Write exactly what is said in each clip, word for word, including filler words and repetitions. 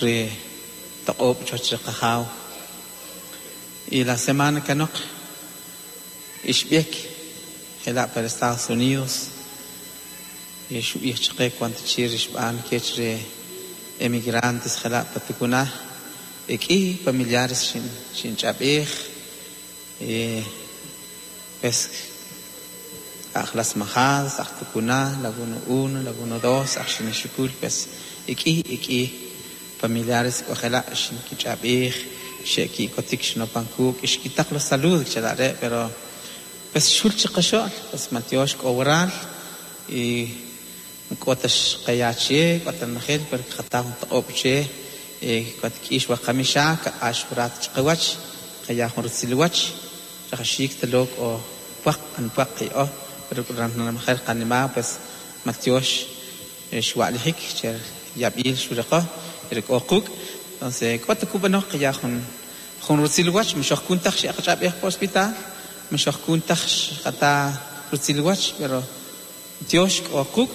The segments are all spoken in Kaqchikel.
Ri toq'ob' chuwach ri qajaw. Y la semana kanoq ixb'ek jela' para Estados Unidos y xub'ij chaqe cuanto chi rixb'an kech ri emigrantes jela' pa Tucuna ek'i familiares xin xinch'ab'ij y pues aj Las Majadas, aj Tucuna, Laguna uno, Laguna dos, aj Xinexukul, pues ek'i ek'i familiares k'ojela' xinkich'ab'ij xe'ki'kotik xinopankuk ixkitaq los saludos chalare pero pues xul chiqaxo'l pues matiox k'o waral y k'otax qayache k'otanajel pero qataw toq'ob' che k'atk'ix waqamixa kaq'ax jurat chiqawach qaya jun ritzilwach rajaxik talok o pwaq an pwaq qi'o pero ranamajel qanima pues matiox xwa'lijik che yab'il xuriqo pero k'o quk' entonces k'ota kub'anoj qaya jun jun ritzilwach mxoj kuntaj xe'qach'ab'ej po hospital mxoj kuntaj xqata ritzilwach pero tiox k'o quk'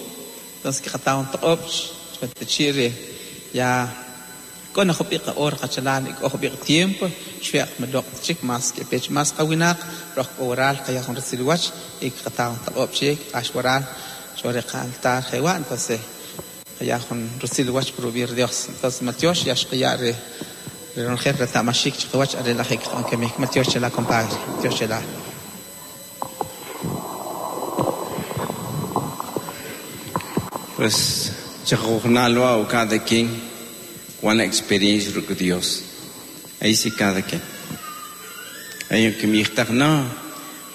entonces qataw toq'ob' chwatachi' ya k'o jub'iq hora qachalal k'o jub'iq tiempo xweq mloq' chik más que pech más qawinaq roj k'o waral qaya jun ritzilwach y qataw toq'ob' chik q'ax waral chore qaltar jewa entonces qaya jun ritzilwach por Dios entonces matiox ya xqiya re ronjer retamashik chiqawach arelajik q'ankemik matiox chela compadre matiox chela. Pues chajujnalwa o cada quien una experiencia con Dios. Ahí sí cada quien. Hay que mi no,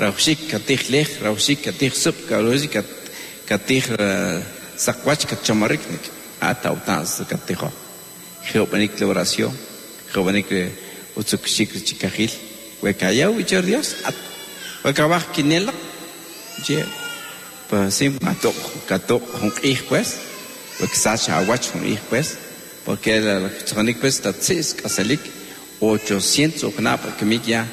raushik katij lej, raushik katij sup, raushik katij sakwach katchamarik ata utans katijo. Jeopanik la oración, jeopanik utsukshik chikajil, wekayau y Dios, wekabaj kinela, je pues sí, katok katok jun pues, weksacha awach jun pues, porque la tzonik pues tatsis kasalik ochocientos knap que ya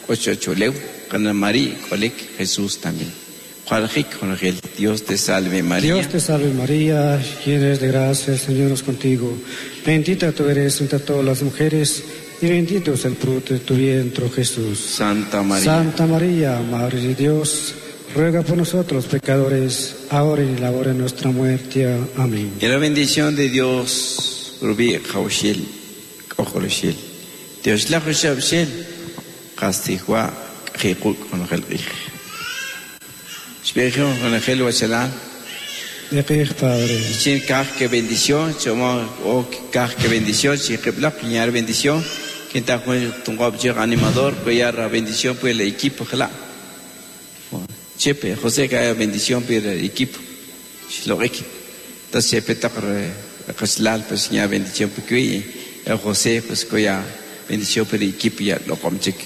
ocho choleu con María kolik Jesús también. Dios te salve María. Dios te salve María, llena eres de gracia, el Señor es contigo. Bendita tú eres entre todas las mujeres y bendito es el fruto de tu vientre, Jesús. Santa María. Santa María, Madre de Dios, ruega por nosotros pecadores, ahora y en la hora de nuestra muerte. Amén. Y la bendición de Dios, Rubí Jaushil, Ojoloshil. Dios la Joshabshil, Castijua, Jikuk, con el Espejo con el Wachalán. De Padre. Chin kaj que bendición, chomo o kaj que bendición, chiquiplak, piñar bendición. Quien está con tu animador, cuellar bendición por el equipo, jala. Chepe, José que haya bendición por el equipo. Shlorik. Entonces Chepe está pues ya bendición por el José, pues cuya bendición por el equipo ya lo comchik.